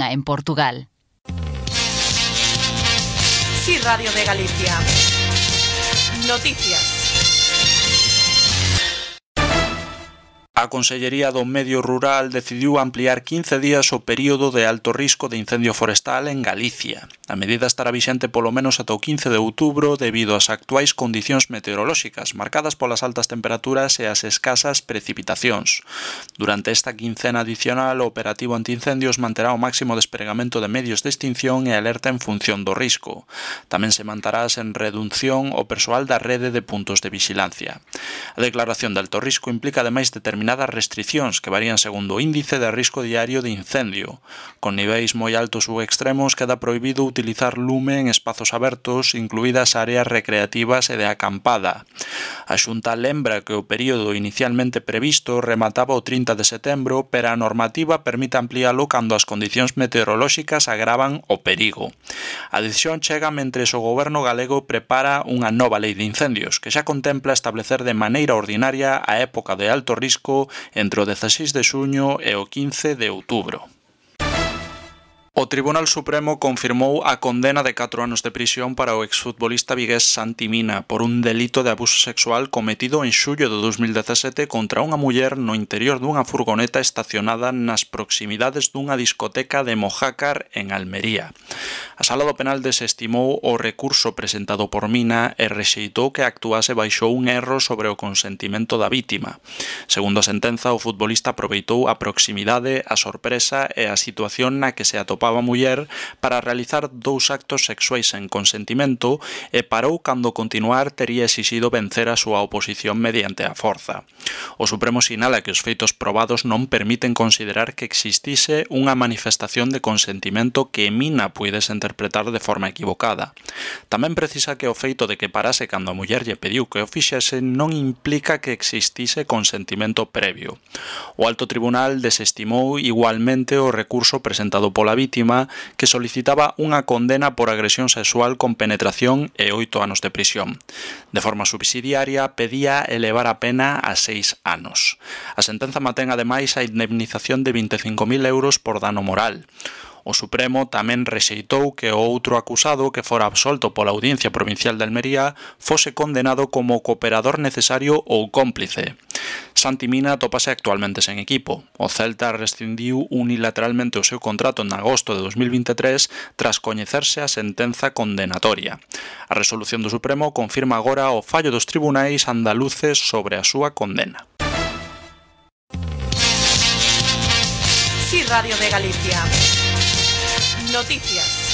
Viana en Portugal. Sí, Radio de Galicia. Noticias. A Consellería do Medio Rural decidiu ampliar 15 días o período de alto risco de incendio forestal en Galicia. A medida estará vixente polo menos ata o 15 de outubro debido ás actuais condicións meteorolóxicas, marcadas polas altas temperaturas e as escasas precipitacións. Durante esta quincena adicional, o operativo antiincendios manterá o máximo despregamento de medios de extinción e alerta en función do risco. Tamén se manterá sen reducción o persoal da rede de puntos de vixilancia. A declaración de alto risco implica ademais determinadas restricións que varían segundo o índice de risco diario de incendio. Con niveis moi altos ou extremos queda prohibido utilizar lume en espazos abertos, incluídas áreas recreativas e de acampada. A Xunta lembra que o período inicialmente previsto remataba o 30 de setembro, pero a normativa permite ampliálo cando as condicións meteorolóxicas agravan o perigo. A decisión chega mentres o goberno galego prepara unha nova lei de incendios, que xa contempla establecer de maneira ordinaria a época de alto risco entre o 16 de xuño e o 15 de outubro. O Tribunal Supremo confirmou a condena de 4 anos de prisión para o exfutbolista vigués Santi Mina por un delito de abuso sexual cometido en xullo de 2017 contra unha muller no interior dunha furgoneta estacionada nas proximidades dunha discoteca de Mojácar en Almería. A Sala do Penal desestimou o recurso presentado por Mina e rexeitou que actuase baixo un erro sobre o consentimento da vítima. Segundo a sentenza, o futbolista aproveitou a proximidade, a sorpresa e a situación na que se atopaba a muller para realizar 2 actos sexuais sen consentimento e parou cando continuar tería exixido vencer a súa oposición mediante a forza. O Supremo sinala que os feitos probados non permiten considerar que existise unha manifestación de consentimento que Mina puidese interpretar de forma equivocada. Tamén precisa que o feito de que parase cando a muller lle pediu que o fixese non implica que existise consentimento previo. O Alto Tribunal desestimou igualmente o recurso presentado pola vítima que solicitaba unha condena por agresión sexual con penetración e 8 anos de prisión. De forma subsidiaria, pedía elevar a pena a 6 anos. A sentenza mantén ademais a indemnización de 25.000 euros por dano moral. O Supremo tamén rexeitou que o outro acusado que fora absolto pola Audiencia Provincial de Almería fose condenado como cooperador necesario ou cómplice. Santi Mina atópase actualmente sen equipo. O Celta rescindiu unilateralmente o seu contrato en agosto de 2023 tras coñecerse a sentenza condenatoria. A resolución do Supremo confirma agora o fallo dos tribunais andaluces sobre a súa condena. Sí, Radio de Galicia. Noticias.